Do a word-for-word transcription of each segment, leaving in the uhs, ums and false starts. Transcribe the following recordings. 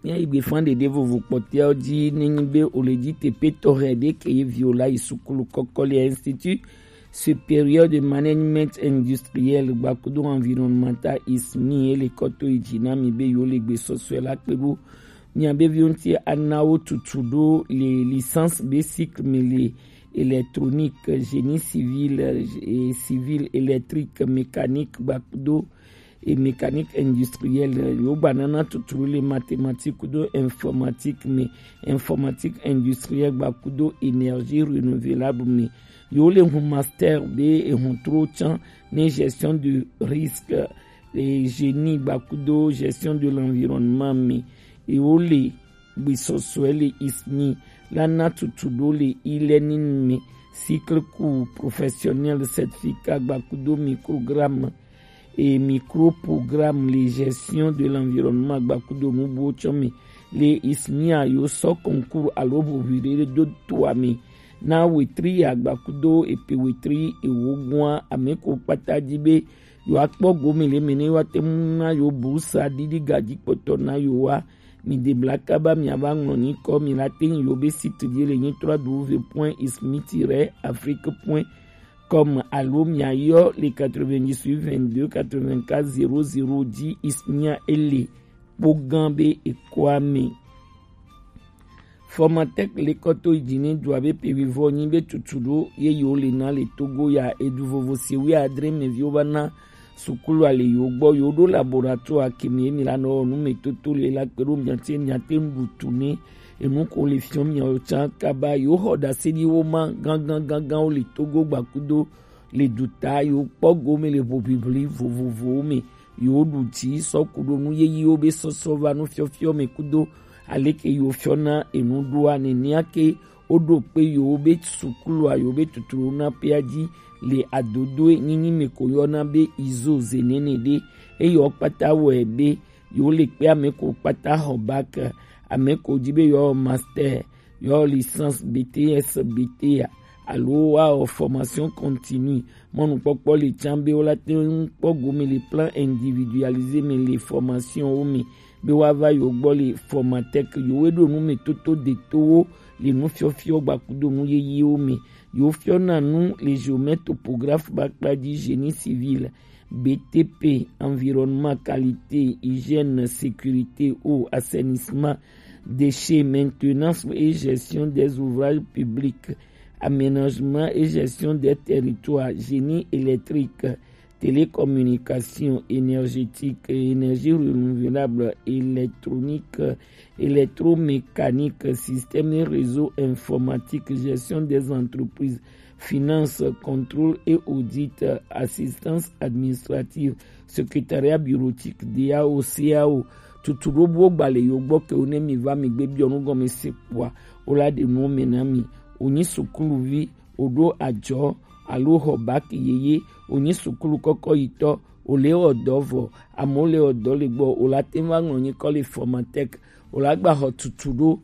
Ye igbe fan ɖeɖe vovo kpɔtɔewo ji nenyi be o le ji teƒe tɔxɛ ɖe ke ye viwo la yi sukulu kɔkɔ le Institut Supérieur de Management Industriel gbakudo environnemental, ismi, ye le kɔ to yi ji na mi be yewo le gbesɔsɔe la kpe ɖo mia be viwo ŋuti, ana wo tutu ɖo le licence be cycle me le électronique, génie civil, eh, civil, électrique, mécanique gbakudo et mécanique industrielle. Yo gba nana tuturu le mathématique kudo informatique me, informatique industrielle gba kudo énergie renouvelable me. Yo le hun master be ehun tro tsan ne gestion de risque et génie gba kudo gestion de l'environnement me. Yo le gbesɔsɔe le ismi la na tuturu le e-learning me, cycle court professionnel, certificat gba kudo microgramme et microprogramme le gestion de l'environnement gba kudo nu buwo tsɔ me. Le ismia yo sɔ concours alo hoʋiɖe ɖe do to ame na wetri ya gba kudo epe wetri ewo gua ame ko kpata ji be yo akpɔ gome le me ne yo ate ŋu na yo bourse ɖiɖi gaji kpɔtɔ na yo wa. Mi de bla kaba mi ava ŋlɔ nyikɔ mi la te ŋu yo be site di le nyi trois w point ismi tiret afrique point com alo mia yɔ le quatre-vingt-dix-huit vingt-deux quatre-vingt-quatre zéro zéro dix. Ismia ele kpo gã be ekɔa me. Formatec le kɔ to yi ji ne dua be pe vivɔ nyi be tutu ɖo ye yewo le na le Togo ya edu vovo si wi adre me viwo va na sukulu ale yewo gbɔ yewo ɖo laboratoire ke me ye mi la nɔ wɔ nu me toto le la kpe ɖo mia te mia te ŋu ɖu tu ne enu ko le fiɔ miawo tsã kaba yewo xɔ ɖase ɖi wo ma gãgãgãgãwo le Togo gba kudo le duta yewo kpɔ gome le hoʋiʋli vovovowo me. Yewo ɖu dzi sɔ ku ɖo nu yeyiwo be sɔsɔ va nu fiɔfiɔ me kudo aleke yewo fiɔna enu ɖoa nenea ke woɖo kpe yewo be sukulua yewo be tuturu na pea ji le adodoe nyinyi me ko yɔna be izo zenene ɖe. Eye wo kpata wɔe be yewo le kpe ame ko kpata xɔ bac, ame ko ji be yewo master, yewo licence, B T S, B T A alo woawɔ formation continue. Mɔnukpɔkpɔ le tsã be wola te ŋu kpɔ gome le plan individualisé me le formation wo me be woava yewo gbɔ le Formatec yewo ɖo nu me toto detowo le nu fiɔfiɔ gba kudo nu yeyiwo me. Yewo fiɔna nu le géomètre topographe ba kpa ji génie civil, B T P, environnement, qualité, hygiène, sécurité, eau, assainissement, déchets, maintenance et gestion des ouvrages publics, aménagement et gestion des territoires, génie électrique, télécommunication, énergétique, énergie renouvelable, électronique, électromécanique, système et réseau informatique, gestion des entreprises, finance, contrôle et audit, assistance administrative, secrétariat bureautique, D A O, C A O. Tutu ɖo buwo gba le yewo gbɔ ke wo ne mi va mi gbe biɔ nu gɔme se kpɔa, wo la ɖe nuwo me na mi. Wonyi sukuluvi, woɖo ajɔ alo xɔ bac yeye, wonyi sukulu kɔkɔ yitɔ, wole wɔ dɔ vɔ, amewo le wɔ dɔ le gbɔ, wola te va ŋlɔ nyikɔ le Formatec, wola gba xɔ tutu ɖo,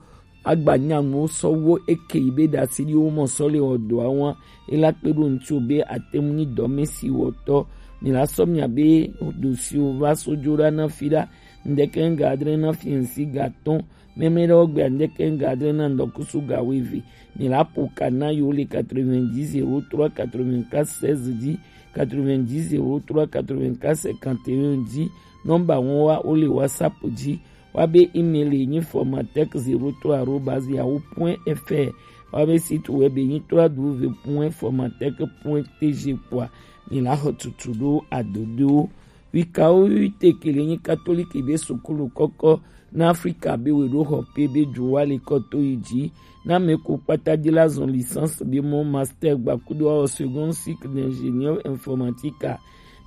agba nya nuwo sɔ wo eke yi be ɖasi ɖi wo mɔ sɔ le wɔ dɔa wa, ela kpe ɖo ŋutsu be ate ŋu nyi dɔmesi wɔtɔ. Mi la sɔ mia be dosiwo va so dzo ɖa na fi ɖa, ŋdeke ŋga adre na fi ŋsi ga tɔn, mɛmɛ ɖewo gbea ŋdeke ŋga adre na ŋdɔkusu ga weve. Mi la ƒo ka na yewo le quatre-vingt-dix zéro trois quatre-vingt-quatre seize dzi, quatre-vingt-dix zéro trois quatre-vingt-quatre cinquante et un dzi. Nɔmba ŋu wa wo le WhatsApp dzi. Wa be email nyi formatec zéro trois arobase yahoo point F R. Wa be site web nyi trois W point formatec point T G kpɔa. Mi la xɔ tutu ɖo adodowo. Wikawo wi te ke le nyi katoliki be sukulu kɔkɔ na Afrika be we ɖo xɔ pe be ju wa le kɔ to yi ji. Na me ko kpata di la zɔn licence be mɔ master gba kudo awɔ second cycle d'ingénieur informatique a.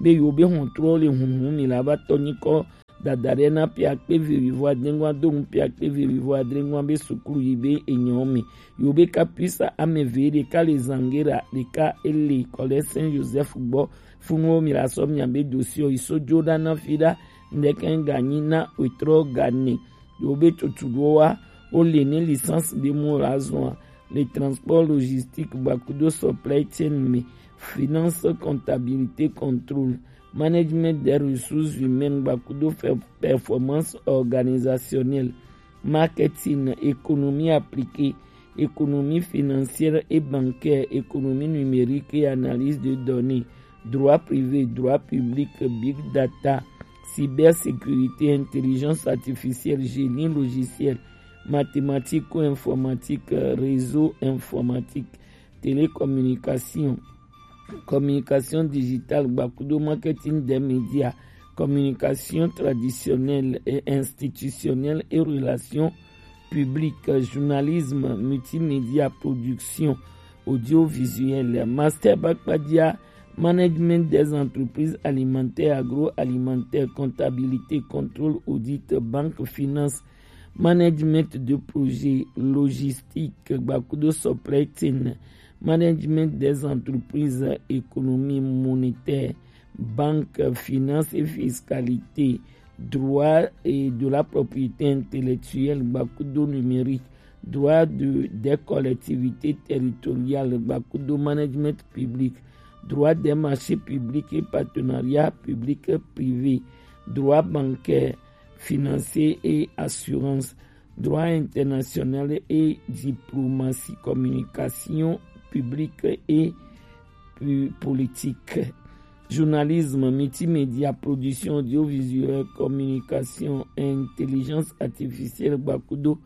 Be yo be hɔn trɔ le hunhun mi la va tɔ nyikɔ dada ɖe na pia kpe ve wivo adengua do nu pia kpe ve wivo adengua be sukulu yi be enyɔ me. Yo be ka puisa ame ve ɖeka le Zangera ɖeka ele kɔ le Saint Joseph gbɔ. Funuwo mi la sɔ mia be dosiwo yi so dzo ɖa na fi ɖa. Ŋdeke ŋga nyi na wetrɔ ga ne. Yo be tutu ɖo wa wo le ne licence be mo la zɔn le transport logistique gba kudo supply chain me, finance, comptabilité, contrôle, management des ressources humaines gba kudo fe- performance organisationnelle. marketing, économie appliquée, économie financière et bancaire, économie numérique et analyse de données, droit privé, droit public, big data, cybersécurité, intelligence artificielle, génie logiciel, mathématiques ou informatique, réseau informatique, télécommunication, communication digitale, gbakudo marketing des médias, communication traditionnelle et institutionnelle et relations publiques, journalisme, multimédia, production audiovisuelle, master bakpadia, management des entreprises alimentaires, agroalimentaires, comptabilité, contrôle, audit, banque, finance, management de projet, logistique, gbakudo supply chain, management des entreprises, économie monétaire, banque, finance et fiscalité, droit et de la propriété intellectuelle, gbakudo numérique, droit de, des collectivités territoriales, gbakudo management public, droit des marchés publics et partenariats publics privés, droit bancaire, financier et assurance, droit international et diplomatie, communication publique et pu-, politique, journalisme, multimédia, production audiovisuelle, communication, intelligence artificielle, gbakudo,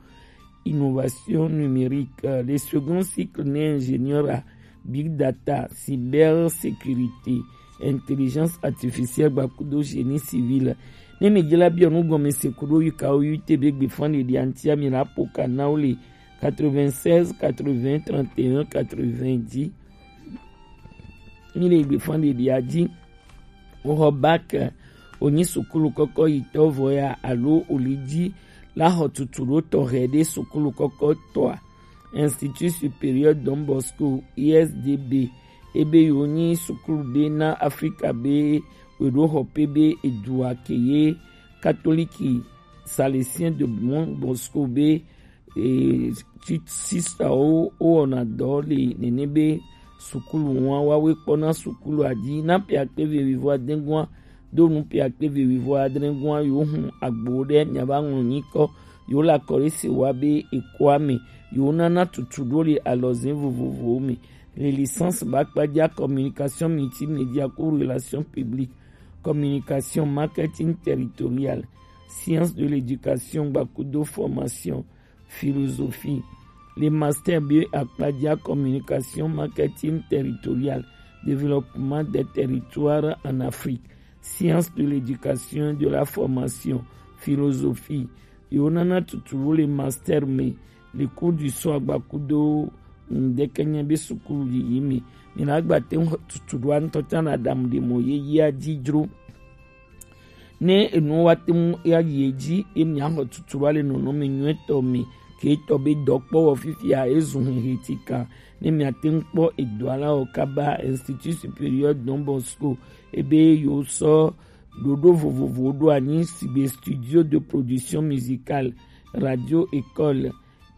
innovation numérique. Euh, le second cycle n'est ingénieur à big data, cybersécurité, intelligence artificielle, gbakudo génie civil. Ne mi jela bi onu gome se kudo yuka o yute be gbe fan de antia mi la poka na o le quatre-vingt-seize quatre-vingts trente et un quatre-vingt-dix. Mi le gbe fan de adi. O xɔ bac, o nyi sukulu kɔkɔ yitɔ vɔ ya alo o li ji la xɔ tutu ɖo tɔxɛ ɖe sukulu kɔkɔ tɔa, Institut Supérieur Don Bosco, I S D B, ebe yo nyi sukulu ɖe na Afrika be weɖo xɔ pe be edua ke ye katoliki Salésien de Don Bosco be e, ti-, sistawo wowɔna dɔ le nene be sukulu wa wawoe kpɔna sukulu adi na piakpe vevivo adegua do nu piakpe vevivo adregua yo hun agbo ɖe miava ŋlɔ nyikɔ yo la kɔ ɖe se wa be ekoa me yo nana tutu ɖo le alɔzin vovovowo me. Le licence bakpadza communication multimédia ku relation publique, communication marketing territorial, science de l'éducation gbakudo formation, philosophie. Le master B E akpadza communication marketing territorial, développement des territoires en Afrique, science de l'éducation et de la formation, philosophie. Yo nana tutu le master me, le cours du soir gbakudo ŋdeke nye be sukulu yiyi me. Mi na gba te ŋu tutu ɖo ŋutɔ tsa na ɖamu ɖe mɔ ye yia dzi dzro. Ne enuwo wa te ŋu ya yi edzi, ye miaxɔ tutu va le nɔnɔme nyuitɔ me, ke etɔ be dɔkpɔwɔ fifia ezu hehe tika. Ne miate ŋu kpɔ edɔa la o kaba, Institut Supérieur Don Bosco, ebe yo sɔ ɖoɖo vovovowo ɖo anyi sigbe studio de production musicale, radio école,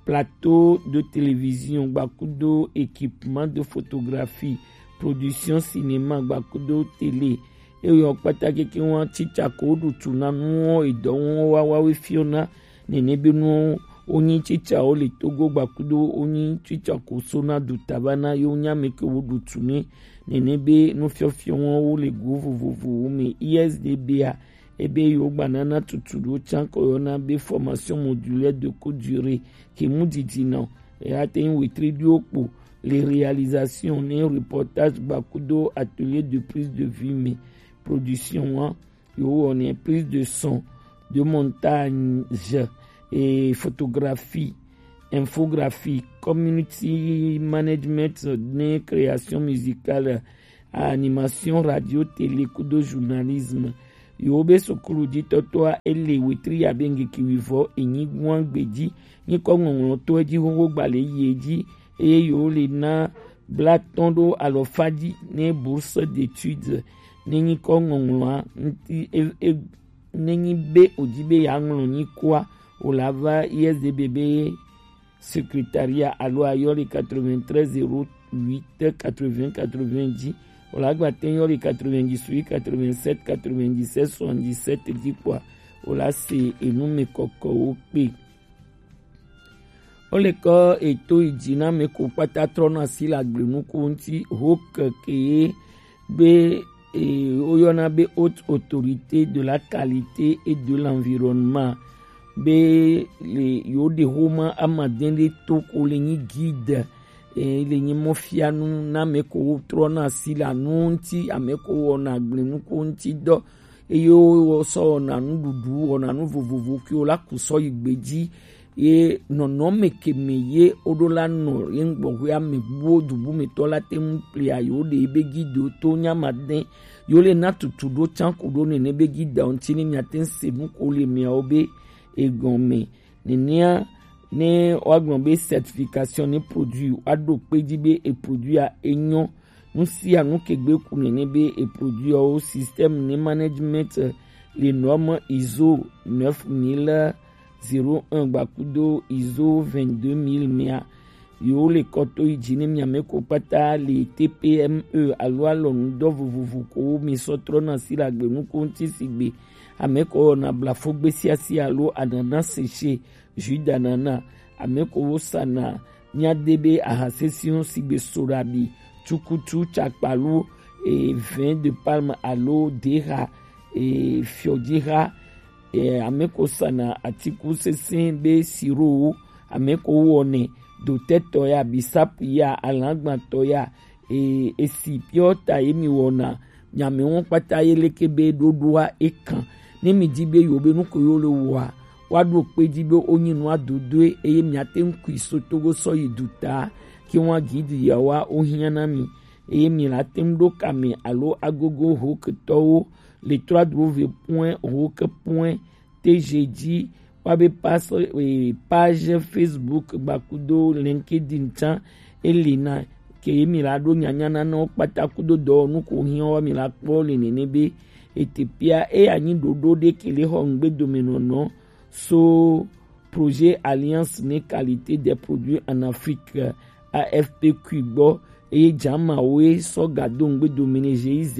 plateau de télévision gbakudo équipement de photographie, production cinéma gbakudo télé. Eyɔ kpata keke wa tsitsa ko ɖu tu na nuwo edɔ wo wa wa we fiona nene be nuwo wonyi tsitsawo le Togo gbakudo wonyi tsitsa ko sona du taba na yo nya me ke wo ɖu tu ne nene be nufiɔfiɔ wo le go vovovowo me. I S D B a ebe yo gba nana tutu ɖo tsa ko yɔna be formation modulaire de courte durée ke mu didi nɔ. Eya te ŋu wetri ɖiwo kpo le réalisation ne reportage gbakudo atelier de prise de vue me. Production wa yo wɔnɛ prise de son, de montage et photographie, infographie, community management ne création musicale, animation radio télé kudo journalisme. Yo be sukulu ditɔtɔa ele wetri ya be ŋgeke wivɔ enyi gua gbeji nyikɔ ŋɔŋlɔ to edzi xoxo gba le yi edzi eye yo le na blatɔn ɖo alɔfa dzi ne bourse d'études ne nyikɔ ŋɔŋlɔa ŋti e, e, ne nyi be o dzi be ya ŋlɔ nyikɔa o la va I S D B be secrétariat alo ayɔ le quatre-vingt-treize zéro huit quatre-vingts quatre-vingts dzi. O la gba te yɔ le quatre-vingt-dix-huit quatre-vingt-sept quatre-vingt-dix-sept soixante-dix-sept dzi kpɔa o la se enu me kɔkɔwo kpe. Wo le kɔ eto yi dzi na mɛ ko kpata trɔ na si le agble nuko ŋuti ho keke ye gbe e woyɔna be Haute Autorité de la Qualité et de l'Environnement be le yo ɖe xoma amadɛn ɖe to ko le nyi guide e le nyi mɔfianu na mɛ ko wo trɔ na si le anu ŋuti, ame ko wɔna agble nuko ŋuti dɔ eye wo sɔ wɔna nuɖuɖu, wɔna nu vovovo ke wo la ku sɔ yi gbe dzi. Ye nɔnɔme ke me ye wo ɖo la nɔ ye ŋgbɔxwe ame buwo dubu me tɔ la te ŋu plia yo ɖe be gido to nyama de yo le na tutu ɖo can ku ɖo nene be gida ŋuti ne mia te ŋu se nu ko le miawo be egɔme. Nenea ne woagblɔ be certification ne produit, woaɖo kpe dzi be e produit a enyo. Nu sia nu ke gbe ku nene be e produit wo système ne management les normes ISO neuf mille zéro un gbakudo ISO vingt-deux mille mea. Yo le kɔto yi dzi ne mia me ko kpata le T P M E alo alɔnu dɔ vovovo ko mi sɔ trɔ na si la gbe nu ko ŋuti si gbe ame ko na blafo gbe sia sia alo anana sese, jus d'ananas, ame ko wo sana mia de be aha sesiwo si gbe soɖabi, cucutu, cakpalu, e, vin de palme alo deha, e, fiɔdiha, e, ame ko sana atiku sese be sirowo, ame ko wɔnɛ dotɛtɔ ya, bisapu ya, alagbatɔ ya, e, esi piɔ ta ye mi wɔna nyame wɔn kpata ye leke be ɖoɖoa e kan. Ne mi di be yo be nu ko yo le wɔa, wa ɖo kpe di be o nyi nua dodoe eye mia te ŋu kui so togo sɔ yi duta ke wa gidi ya wa o hiã na mi. Eye mi la te ŋu ɖo kame alo agogo ho ketɔwo le trois w point hoke point T G dzi, wa be pas, eh, page Facebook gbakudo LinkedIn tsã, e li na ke ye mi la ɖo nyanya na wo kpata kudo dɔwɔnu ko hiã wa mi la kpɔ le nene be etepia e anyi ɖoɖo ɖe ke le xɔ ŋgbedomenɔnɔ so Projet Alliance ne Qualité des Produits en Afrique, A F P Q gbɔ, eye jamawo ye sɔ ga do ŋgbe do mene G I Z,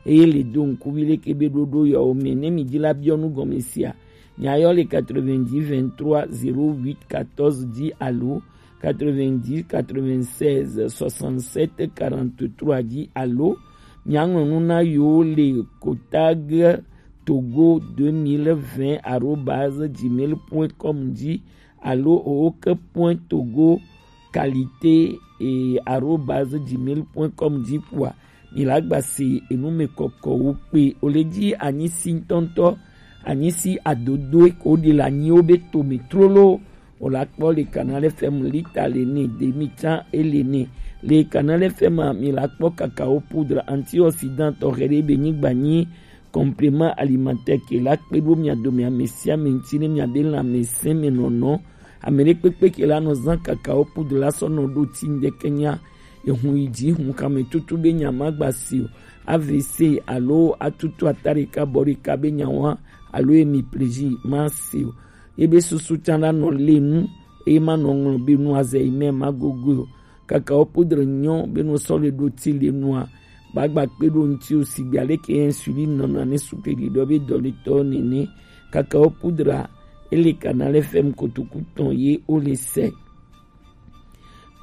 eye le do ŋkuvi leke be ɖoɖo yawo me. Ne mi di la biɔ nu gɔme sia, mi ayɔ le quatre-vingt-dix vingt-trois zéro huit quatorze dzi alo quatre-vingt-dix quatre-vingt-seize soixante-sept quarante-trois dzi alo mi aŋlɔ nu na yo le kotag togo deux mille vingt arobase gmail point com dzi alo oke point togo qualité, eh, arobase gmail point com dzi kpoa, mi la gba se enu me kɔkɔwo kpe. O le dzi anyi si ŋutɔŋutɔ, anyi si adodoe ko ɖi le anyiwo be to me trolo. O la kpɔ le Canal F M lita le ne, demi tsã e le ne. Le Canal F M a, mi la kpɔ cacao poudre antioxydant tɔxɛ ɖe be nyigba nyi complément alimentaire ke la kpe ɖo mia dome ame sia ame ŋuti ne mia be lãmesẽ me nɔnɔ. Ame ɖe kpekpe ke la nɔ zã cacao poudre la sɔ nɔ ɖo ti ŋdeke nya. Ehun yi dzi, hun kame tutu be nya ma gba si o. A V C alo atutu ata ɖeka bɔ ɖeka be nya wa alo emi pleji ma si o. Ebe susu tsã la nɔ le nu, eye ma nɔ ŋlɔ be nu azɛ yi mɛ ma gogo o. Cacao poudre nyɔ be nɔ sɔ le ɖo ti le nua, ba gba kpe ɖo ŋuti o sigbe aleke insuline nɔna ne sukle ɖiɖɔ be dɔletɔ nene. Cacao poudre a, ele Canal F M kotoku tɔn ye o le sɛ.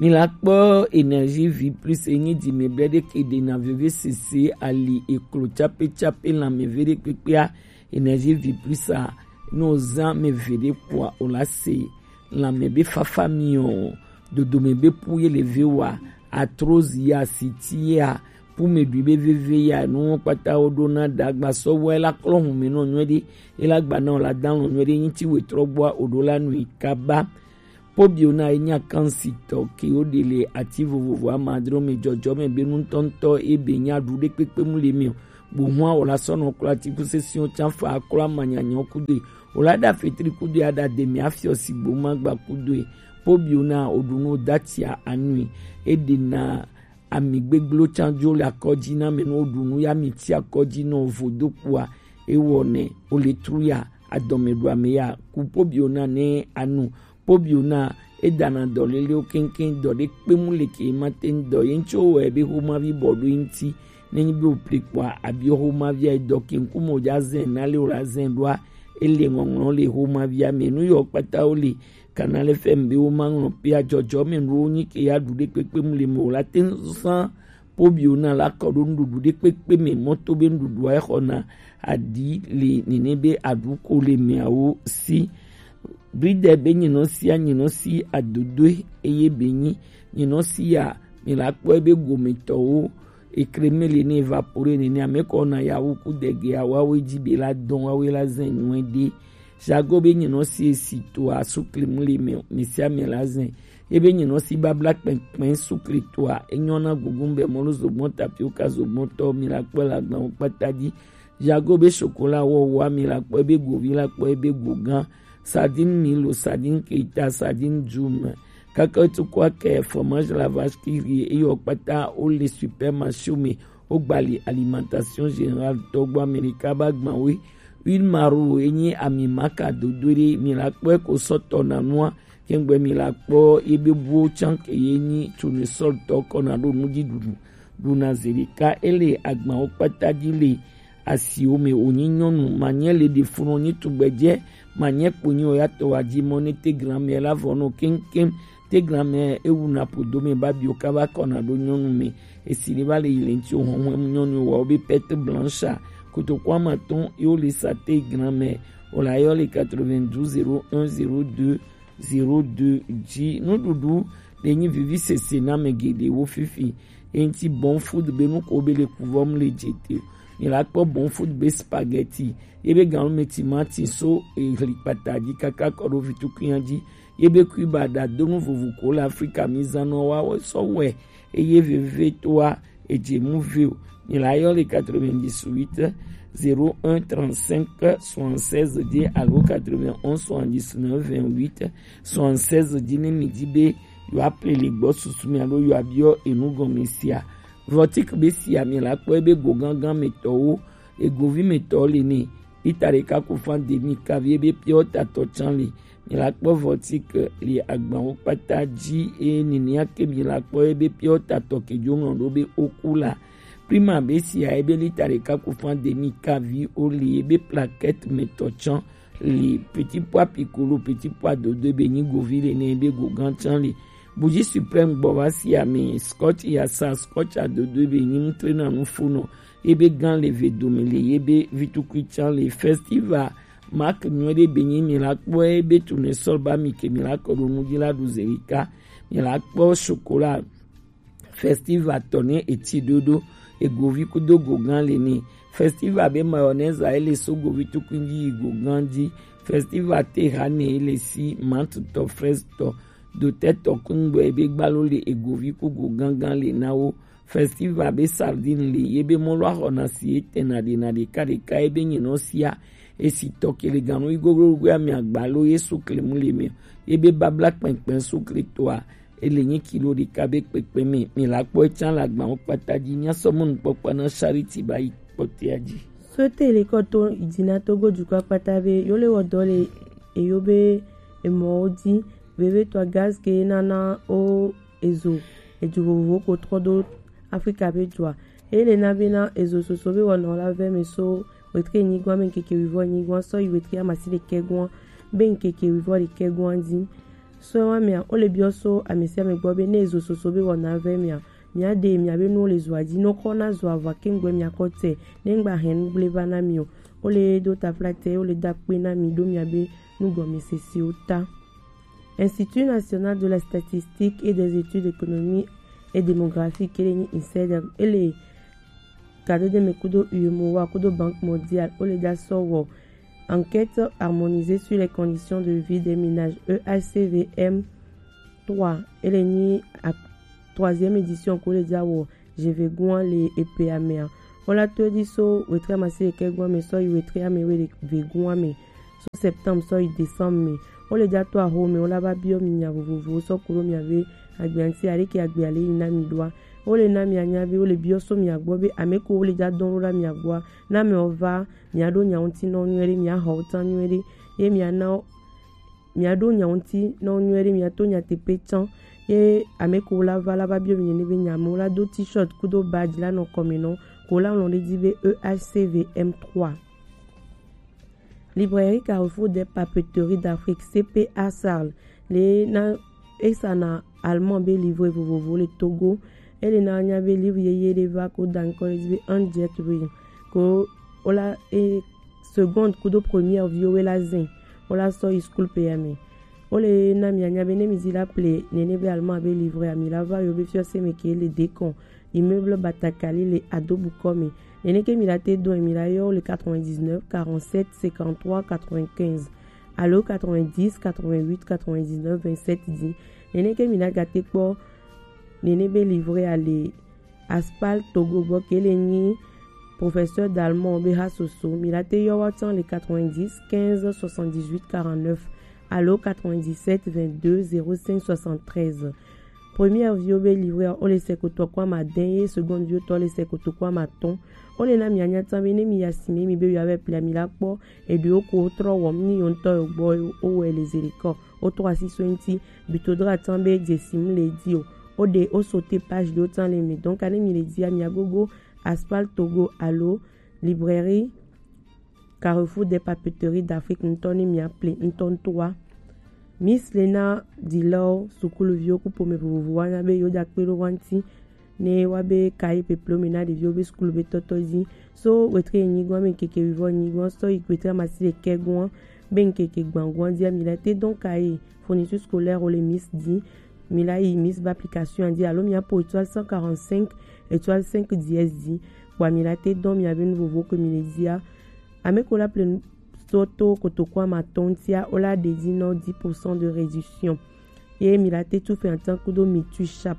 Mi la kpɔ Énergie Vie Plus e nyi dzi me ble ɖe ke ɖe na veve sese ali eklo tsape tsape lãme ve ɖe kpekpea. Énergie Vie Plus a, ne o zã me ve ɖe kpoa o la se lãme be fafa miɔ, dodome be pu ye le ve wa, arthrose ya, siti ya, pu me ɖui be veve ya, nu wo kpata wo ɖo na ɖagba sɔ wɔ la klɔ hun me nɔ nyuie ɖe, e la gba na o la dan lɔ nyuie ɖe, nyiti wetrɔ gbɔa o ɖo la nui kaba. Pobiona ye nya kansi tɔ ke wo ɖe le ati vovovo amadro me jɔjɔ me be nutɔntɔ e be nya ɖu ɖe kpekpe mu le me o. Gbohua o la sɔ nɔ klo atikusesiwo tsã fa aklo amanyanya kudo e. O la ɖa fetri kudo e, aɖa demi afiɔ si gboma gba kudo e. Pobiona o ɖu nu o datia anui. E ɖe na ami gbegblẽ tsã dzo le akɔdzi na me nu o ɖu nu ya mi ti akɔdzi nɔ vo do kpoa. E wɔ nɛ o le tru ya adɔme ɖu ame ya ku pobiona ne anu. Pobiona e dana dɔ lelewo keŋkeŋ, dɔ ɖe kpe mu le ke ma te ŋu dɔ ye ŋutsu wɔ ebe xomavi bɔ ɖo eŋuti. Ne nyi be o ple kpoa, abi xomavi a dɔ ke ŋkume o dza zɛ na le o la zɛ ɖoa, Ele ŋɔŋlɔ le xomavia me nu yɔ kpata wo le Canal F M be wo ma ŋlɔ pe ajɔjɔ me nu wo nyi ke ya ɖu ɖe kpekpe mu le me o la te zan pobio na la kɔ ɖo nuɖuɖu ɖe kpekpe me mɔto be nuɖuɖua exɔ na aɖi le nene be aɖu ko le meawo si. Bridɛ be nyinɔ sia nyinɔ si adodoe eye be nyi nyinɔ sia mi la kpɔe be gometɔwo ekreme le ne evapore nene ame kɔ na yawo ku dege awawe dzi be la dɔn wawe la zɛn nyuɛ de. Jago be nyinɔ si esi to asu klimu le me me sia me la zɛn. Ye be nyinɔ si babla kpɛnkpɛn su kli toa enyɔ na gugun be mɔlu zogbɔn tapioka zogbɔn tɔ mi la kpɔ la gban kpata di. Jago be chocolat wɔ wa mi la kpɔ be govi la kpɔ be gogan. Sardine milo, sardine keita, sardine djum. Kaka tu kwa ke fromage la vache qui rit eyɔ kpata o le supermarché me o gbali alimentation générale tɔgbo Amerika ba gban we. Huile maro enyi ami maka dodo ɖe mi la kpɔ ko sɔtɔ na nua kengbe mi la kpɔ ebe buwo can ke ye nyi tournesol tɔ kɔ na ɖo nuɖuɖu ɖuna zerika ele agban wo kpata dzi le asiwo me wònyi nyɔnu manyɛ le ɖe funɔ nyi tugbedzɛ manyɛ kponyi o ya tɔ wa dzi mɔ ne te gran mɛ la vɔ nɔ keŋkeŋ te gran mɛ ewu na ƒodo me ba bio kaba kɔna ɖo nyɔnu me esi ne va le yi le ŋti o hɔhɔn nyɔnu wa wo be perte blanche kotoku ama tɔn yo le sa te gran mɛ o la yɔ le quatre-vingt-douze zéro un zéro deux zéro deux dzi nuɖuɖu le nyi vivi sese na me geɖewo fifi. Eŋti bon food be nu ko be le kuvɔm le dze te o. Mi la kpɔ bon food be spaghetti ye be ganu me timati so ehli kpata dzi kaka kɔ ɖo vitukunya dzi ye be kui ba ɖa do nu vovo ko le Afrika mi zan nɔ wa sɔ wɛ eye vevetoa edze mu ve o. Mi la yɔ le quatre-vingt-dix-huit zéro un trente-cinq soixante-seize dzi alo quatre-vingt-onze soixante-dix-neuf vingt-huit soixante-seize dzi ne mi dzi be yewoaƒle le gbɔ susu mi alo yewoabiɔ enu gɔme sia. Vɔtik be sia mi la kpɔ ebe go gángan me tɔwo egovi me tɔwo le ne lita ɖeka ko fan demi kavi ebe piɔ tatɔ can le. Mi la kpɔ vɔtik le agbanwo kpata dzi eye nenia ke mi la kpɔ ebe piɔ tatɔ ke dzo ŋlɔ ɖo be oku la. Prima be sia ebe lita ɖeka ko fan demi kavi o le ebe plaquette me tɔ can le petit pois piccolo petit pois dodo be nyi govi le ne be gogan can le. Buji suprême gbɔ va si ame scotch yasa scotch adodo be nyi mutre na nu fo nɔ ebe gan le ve dome le ebe vitukui can le festival mark nyuɛ ɖe be nyi mi la kpɔ ebe tune sɔl ba mi ke mi la kɔ ɖo nu dzi la ɖu zerika mi la kpɔ chocolat festival tɔ ne eti ɖoɖo egovi kudo gogan le ne festival be mayonnaise a ele so govi tukun dzi yi gogan dzi festival te ha ne ele si mantutɔ frestɔ dotɛtɔ kungbe be gbalo le egovi ku gogangan le na wo festival be sardine le ye be mɔlu axɔna si etɛna ɖena ɖeka ɖeka ye be nyinɔ sia esi tɔ ke le ganu yi gogogogoe ame agbalo ye sukle mu le me ye be babla kpɛnkpɛn sukle toa ele nyi kilo ɖeka be kpekpe me mi la kpɔ etsa le agbawo kpata dzi nya sɔ mɔnukpɔkpɔ na charity ba yi kpɔtea dzi. Sote le kɔto idina togo dukɔ kpata be yo le wɔ dɔ le eyo be emɔwo dzi veve tɔ gaz ke nana o ezo edzo vovovo ko trɔ do afrika be dua eye le na be na ezo soso be wɔnɔ la vɛ me so wetre nyigɔa me nkeke wivɔ nyigɔa sɔ yi wetre amasi ɖekɛ gɔa be nkeke wivɔ ɖekɛ gɔa dzi. So wa mea, wo le biɔ so ame sia ame gbɔ be ne ezo soso be wɔna vɛ mea, mia ɖe mia be nuwo le zoa dzi, no kɔ na zoa vɔ kengbe mia kɔ tɛ, ne ŋgba hɛn nu gble va na mi o. Wo le do taflatɛ, wo le da kpe na mi ɖo mia be nugɔmesesewo ta. Institut National de la Statistique et des Études Économiques et Démographiques, ele nyi INSEED, ele Kadedeme kudo U E M O A kudo Banque Mondiale, wo le da sɔ wɔ Enquête harmonisée sur les conditions de vie des ménages, E H C V M trois, ele nyi a troisième édition ko le da wɔ Jevegua le epe amea. Wo la to edi so wetre amasi ɖekɛ gua me sɔ yi wetre ame we vegua me. So septembre sɔ yi décembre me. Wo le da to aho me, wo la va biɔ mi nya vovovowo sɔ ku ɖo mia be agbea ŋuti, aleke agbea le yi na mi ɖoa. Wo le na mia nya be, wo le biɔ so mia gbɔ be, ame ko wo le da dɔn ɖo ɖa mia gbɔa, na amewo va, mia ɖo nya ŋuti nɔ nyuie ɖe, mia xɔ wo tan nyuie ɖe, ye mia na wo, mia ɖo nya ŋuti nɔ nyuie ɖe, mia to nyateƒe tsã, ye ame ko wo la va, la va biɔ mi nene be nya, amewo la do t-shirt kudo badge la nɔ kɔme nɔ, ko la ŋlɔ ɖe dzi be E H C V M trois. Librairie Carrefour des Papeteries d'Afrique, C P A Sarl, le na esa na allemand be livre vovovo le Togo. Ele na nya be livre yeye de va ko dan ko le be un jet ring ko ola e seconde kudo première vio we la zen ola so i school pe ya me. Ole na mi anya be ne mi di la ple nene be allemand be livre ami la va yo be fio se me ke le Decon immeuble Batakali le Adobuko me. Nene ke mi la te don mi la yo le quatre-vingt-dix-neuf quarante-sept cinquante-trois quatre-vingt-quinze. Alo quatre-vingt-dix quatre-vingt-huit quatre-vingt-dix-neuf vingt-sept dix. Nene ke mi la gate kpo nene be livre ale Aspal Togo gbo ke le nyi professeur d'allemand be ha soso mi la te yo wa tan le quatre-vingt-dix quinze soixante-dix-huit quarante-neuf alo quatre-vingt-dix-sept vingt-deux zéro cinq soixante-treize. Première vio be livre o le sekoto kwa ma den ye seconde vio to le sekoto kwa ma ton. O le na mi anya tan be ne mi ya sime mi be yo ave pli ami la kpo e de o ko tro wo mi ni yo nto yo gbo o we le zeriko o to asi so nti bito dra tan be je sim le di o o de o sauter page de o tan le mi. Donc ane mi le di ami agogo Aspal Togo alo librairie Carrefour des Papeteries d'Afrique ntɔ ni mi aple ntɔ ntoa. Miss Lena Dilor sukulu vio ku pome vovovo wa na be yo da kpe do wanti ne wa be kayi peplo me na ɖeviwo be sukulu be tɔtɔ dzi. So wetre nyigba me keke wivɔ nyigba sɔ yi wetre amasi le kɛgua be nkeke gbangua dzi ami la te dɔn kayi fourniture scolaire o le Miss dzi. Mi la yi Miss ba application dzi alo mi apo étoile cent quarante-cinq étoile cinq dièse dzi. Kpo ami la te dɔn mi abe nu vovo ke mi le dzia. Ame ko la ple nu to to kotoko ama tɔn tia o la ɖe dzi nɔ dix pour cent de réduction. Ye mi la te tu fɛ atan kudo mi tu sharp.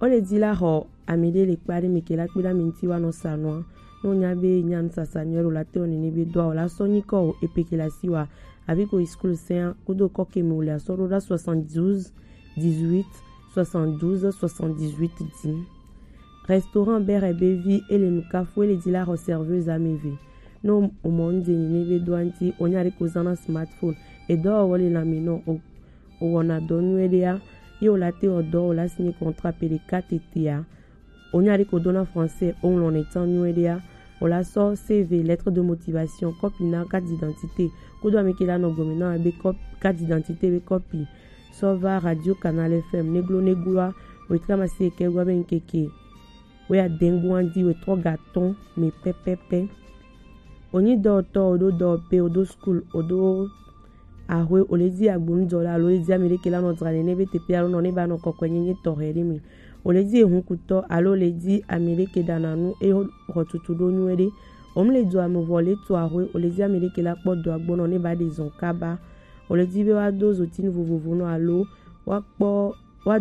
O le dzi la xɔ ami ɖe le kpa ɖe mi ke la kpe ɖe ami ŋuti wa nɔ sa nua. Ne wonya be nya nusasa nyuie ɖe o la te wɔ nene be dɔa o la sɔ nyikɔ o epe ke la si wa avi ko yi school sɛn kudo kɔ ke mi o le asɔ ɖo ɖa soixante-douze dix-huit soixante-douze soixante-dix-huit dzi. Restaurant Bere be vi e le nukafu e le dzi la xɔ serveuse ame eve. Ne o mɔ nu dze nene be dɔa ŋuti o nya ɖe ko zã na smartphone e dɔ wɔ le lãme nɔ o o wɔna dɔ nyuie ɖea ye o la te wɔ dɔ o la signer contrat pe ɖeka tetea. O nya ɖe ko do na français o ŋlɔ ne tan nyuie ɖea o la sɔ C V, lettre de motivation, copie na carte d'identité kudo ame ke la nɔ gɔme na be cop- carte d'identité be copie sɔ va Radio Canal F M neglo negloa wetre amasi eke gua be nkeke we adengua dzi wetrɔ ga tɔn me pɛpɛpɛ. Onyi dɔwɔtɔ o do dɔwɔpe o do school o do ahwe o le dzi agbonudɔla alo le dzi ame ɖeke la nɔ dzra nene be teƒe alo nɔ ne ba nɔ kɔkɔe nyenye tɔxɛ ɖe me. O le dzi ehunkutɔ alo le dzi ame ɖeke ɖana nu eye xɔ tutu ɖo nyuie ɖe. O mu le do ame vɔ le to ahwe o le dzi ame ɖeke la kpɔ dɔa gbɔ nɔ ne ba ɖe zɔn kaba. O le dzi be wa do zotinu vovovo nɔ alo wa kpɔ wa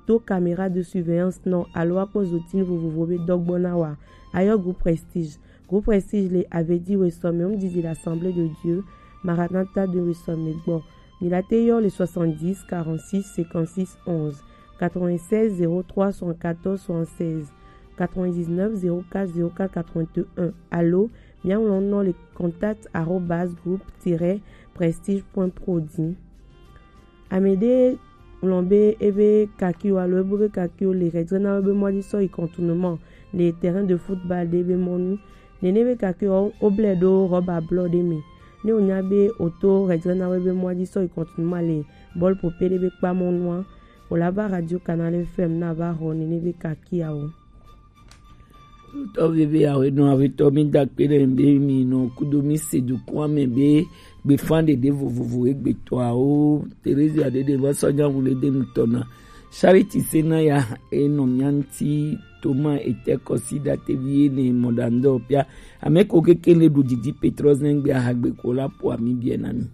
do caméra de surveillance nɔ alo wa kpɔ zotinu vovovo be dɔgbɔ na wa. Ayɔ groupe Prestige. Groupe Prestige le Avedi Wesome, home didi l'Assemblée de Dieu, Maranatha de Wesome gbɔ. Mi la te yɔ le soixante-dix quarante-six cinquante-six onze, quatre-vingt-seize zéro trois soixante-quatorze soixante-seize, quatre-vingt-dix-neuf zéro quatre zéro quatre quatre-vingt-un alo mia ŋlɔ nɔ le contact arobase groupe tiret prestige point pro dzi. Ame ɖe ŋlɔ be ebe kakiwo alo ebo be kakiwo le hedzre na wo be mɔ dzi sɔ yi contournement le terrain de football ɖe be mɔnu. Nene be kakiwo woblɛ ɖo rɔba blɔ ɖe me. Ne wonya be woto hedzre na wo be mɔ dzi sɔ yi contournement le bɔl pope ɖe be kpa mɔnua, wòla va Radio Canal F M na va xɔ nene be kakiawo. Tɔ veve awe nɔ awe tɔ mi da kpe ɖe be mi nɔ kudo mi se dukua me be gbefa ɖeɖe vovovo egbetɔawo Terezia ɖeɖe va sɔ nya wu le de nutɔ na Charity se na ya enɔ mia ŋuti toma ete kɔsi ɖa tevi ene mɔ ɖa ŋdɔ pia ame ko keke le ɖu didi petrɔ zɛngbe ahagbe ko la po ami biɛ na mi.